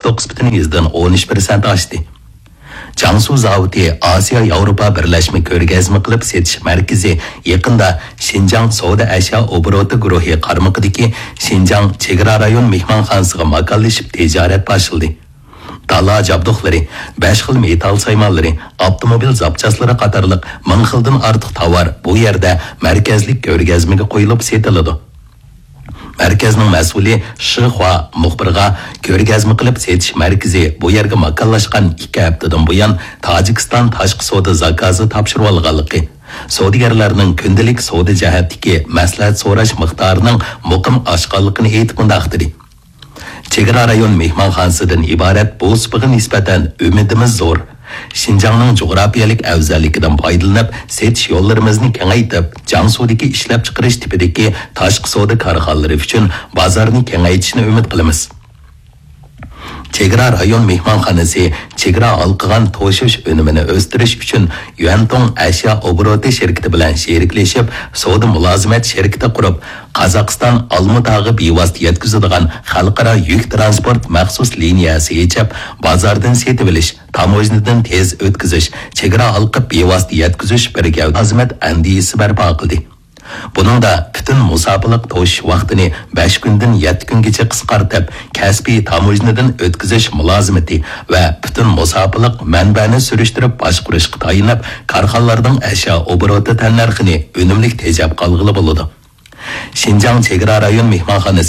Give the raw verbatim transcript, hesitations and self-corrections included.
توققۇز پۈتۈن يۈزدىن ئون ئۈچ پىرسەنت ئاشتى. جياڭسۇ زاۋۇتى ئاسىيا ياۋروپا بىرلەشمە كۆرگەزمە قىلىپ سېتىش مەركىزى يېقىندا شىنجاڭ سودا ئەشيا ئوبوروتى گۇرۇھى قارمىقىدىكى شىنجاڭ چېگرا رايون مېھمانخانىسىغا ماكانلىشىپ تىجارەت باشلىدى. دالا جابدۇقلىرى، بەش خىل مېتال سايمانلىرى، ئاپتوموبىل زاپچاسلىرى قاتارلىق مىڭ خىلدىن ئارتۇق تاۋار بۇ يەردە مەركەزلىك كۆرگەزمىگە قويۇلۇپ سېتىلىدۇ. مەركەزنىڭ مەسئۇلى شى خۇا مۇخبىرغا، كۆرگەزمە قىلىپ سېتىش مەركىزى بۇ يەرگە ماكانلاشقان ئىككى ھەپتىدىن بۇيان تاجىكىستان تاشقى سودا زاكازى تاپشۇرۇۋالغانلىقى، سودىگەرلەرنىڭ كۈندىلىك سودا جەھەتتىكى مەسلىھەت سوراش مىقدارىنىڭ مۇقىم ئاشقانلىقىنى ئېيتىپ مۇنداق دېدى: چېگرا رايون مېھمانخانىسىدىن ئىبارەت بۇ سۇپىغا نىسبەتەن ئۈمىدىمىز زور. شىنجاڭنىڭ جۇغراپىيەلىك ئەۋزەللىكىدىن پايدىلىنىپ، سېتىش يوللىرىمىزنى كېڭەيتىپ، جياڭسۇدىكى ئىشلەپچىقىرىش تىپىدىكى تاشقى سودا كارخانىلىرى ئۈچۈن بازارنى كېڭەيتىشنى ئۈمىد قىلىمىز. چېگرا رايون مېھمانخانىسى چېگرا ھالقىغان توشۇش ئۈنۈمىنى ئۆستۈرۈش ئۈچۈن يۈەنتۇڭ ئەشيا ئوبوروتى شىركىتى بىلەن شېرىكلىشىپ، سودا مۇلازىمەت شىركىتى قۇرۇپ، قازاقىستان ئالمۇتاغا بىۋاسىتە يەتكۈزىدىغان خەلقئارا يۈك تىرانسپورت مەخسۇس لىنىيەسى ئېچىپ، بازاردىن سېتىۋېلىش، تاموژنىدىن تېز ئۆتكۈزۈش، چېگرا ھالقىپ بىۋاسىتە يەتكۈزۈش بىر گەۋدە مۇلازىمەت ئەندىزىسى بەرپا قىلدى. بۇنىڭدا پۈتۈن مۇساپىلىق توشۇش ۋاقتىنى بەش كۈندىن يەتتە كۈنگىچە قىسقارتىپ، كەسپىي تاموژنىدىن ئۆتكۈزۈش مۇلازىمىتى ۋە پۈتۈن مۇساپىلىق مەنبەنى سۈرۈشتۈرۈپ باشقۇرۇشقا تايىنىپ، كارخانىلاردىڭ ئەشيا ئوبوروتى تەننەرخىنى ئۈنۈملۈك تېجەپ قالغىلى بولىدۇ. شىنجاڭ چېگرا رايون مېھمانخانىسى